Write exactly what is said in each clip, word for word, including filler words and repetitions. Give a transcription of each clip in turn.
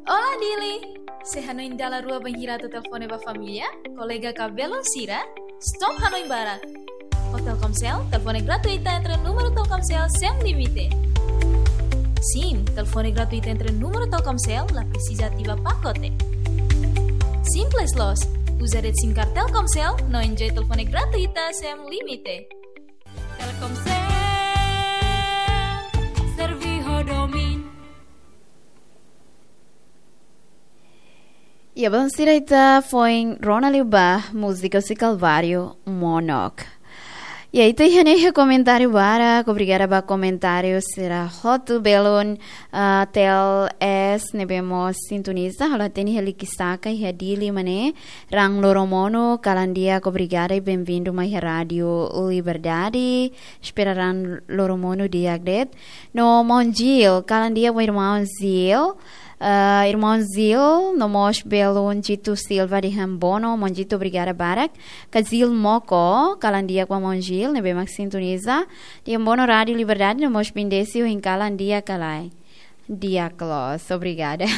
Olá, Dili! Sé hanoin dala rua bainhira atu telefone ba família, kolega ka belun sira? Stop hanoin barak! Ho Telkomsel, telefone gratuita entre númeru Telkomsel sem limite. Sim, telefone gratuita entre númeru Telkomsel, la presiza ativa pakote. Simples loos, uza de'it SIM card Telkomsel, no enjoy telefone gratuita sem limite. Telkomsel, servi ho domin. Iha belun sira, ita foin rona liu ba múzika husi Kalvário Monok. Iha, ita iha ne'e iha komentáriu barak, obrigada ba komentáriu sira hotu. Belun, ah, T L S ne'ebé mós sintoniza, halo hatene iha Likisaka, iha Dili mak ne'e. Raan loromonu, kalan di'ak, obrigada i benvindu mai iha Rádio Liberdade. Espera raan loromonu di'ak de'it. No maun Gil, kalan di'ak ba irmaun Gil. Ah, irmaun Gil, no mós belun Jitu Silva dehan bono, maun Jitu, obrigada barak. Ka Gil Moko, kalan di'ak ba maun Gil, ne'ebé mak sintoniza. Dehan bono Rádio Liberdade, no mós bendese ohin, kalan di'ak ka lae? Di'ak loos, obrigada.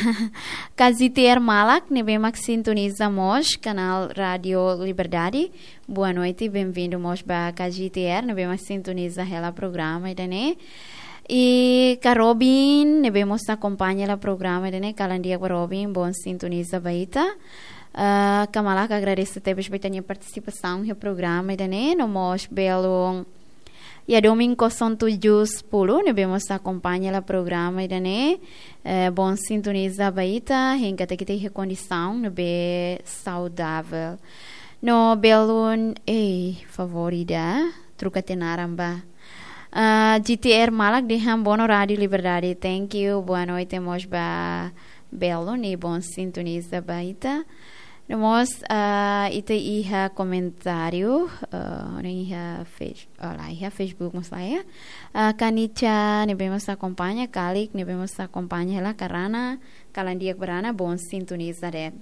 Ka G T R Malak, ne'ebé mak sintoniza mós kanál Rádio Liberdade. Boa noite, benvindu mós ba ka G T R, ne'ebé mak sintoniza hela programa ida-ne'e. I ka Robin, ne'ebé mós akompaña hela programa ida-ne'e, kalan di'ak ba Robin, boon sintoniza ba ita. Ah, ka Malak, agradese tebes ba ita-nia partisipasaun iha programa ida-ne'e, no mós belun iha domin kosong tujuh sepuluh, ne'ebé mós akompaña hela programa ida-ne'e, eh, boon sintoniza ba ita, hein katak ita iha kondisaun ne'ebé saudavel. No belun, ei, favór ida, troka tiha naran ba. Ah, G T R Malak dehan bono Rádio Liberdade, thank you, boa noite mós ba belun i boon sintoniza ba ita. No mós, ah, ita iha komentáriu, ah, no iha Face-, oh, lae iha Facebook mós lae iha. Ah, ka Nicha ne'ebé mós akompaña, Kalik ne'ebé mós akompaña hela, ka Rana, kalan di'ak ba Rana, boon sintoniza de'it.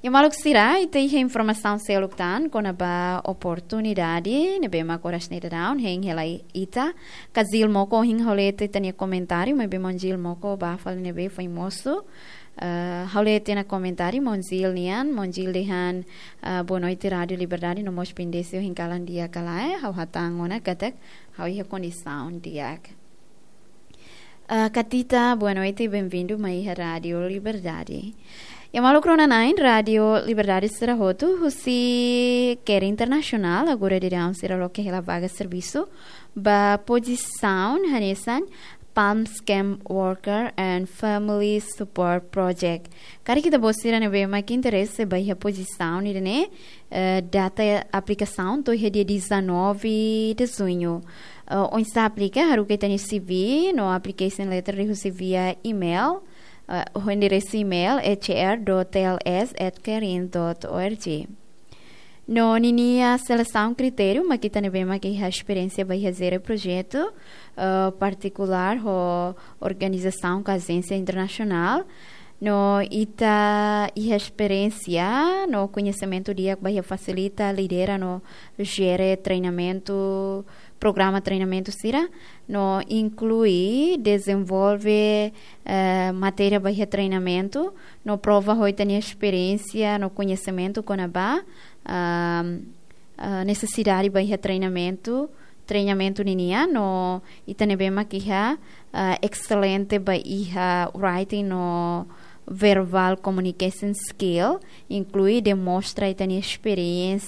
Iha maluk sira, ita iha informasaun seluk tan kona-ba oportunidade ne'ebé mak oras ne'e daudaun hein hela ita. Ka Gil Moko, ohin ha'u lee tiha ita-nia komentáriu, maibé maun Gil Moko bá fali ne'ebé foin mosu. Eh, ha'u lee tiha ona komentáriu maun Gil nian, maun Gil dehan, eh, boa noite Rádio Liberdade, no mós bendese ohin, kalan di'ak ka lae? Ha'u hatán ona katak ha'u iha kondisaun di'ak. Eh, ka Tita, boa noite, benvindu mai iha Rádio Liberdade. Iha maluk rona-na'in Rádio Liberdade sira hotu, husi CARE Internasionál, agora daudaun sira loke hela vaga servisu ba pozisaun hanesan PALMS Camp Worker and Family Support Project. Karik ita-boot sira ne'ebé mak interese ba iha pozisaun ida-ne'e, eh, data aplikasaun to'o iha dia dezanove de junho. Eh, oinsá aplika, haruka ita-nia C V no application letter liuhusi via email, eh, ho enderesu email H R dot T L S at carin dot org. No ninia selesaun kritériu mak ita ne'ebé mak iha esperiénsia ba iha jere projetu, eh, partikulár ho organizasaun ka ajénsia internasionál. No ita iha esperiénsia no koñesimentu di'ak ba iha fasilita, lidera no jere treinamentu, programa treinamentu sira, no inklui dezenvolve, eh, matéria ba iha treinamentu, no prova ho ita-nia esperiénsia no koñesimentu kona-ba, ah, ah, nesesidade ba iha treinamentu, treinamentu ninian, no ita ne'ebé mak iha, ah, excelente ba iha writing no verbal communication skill, inklui demonstra ita-nia esperiénsia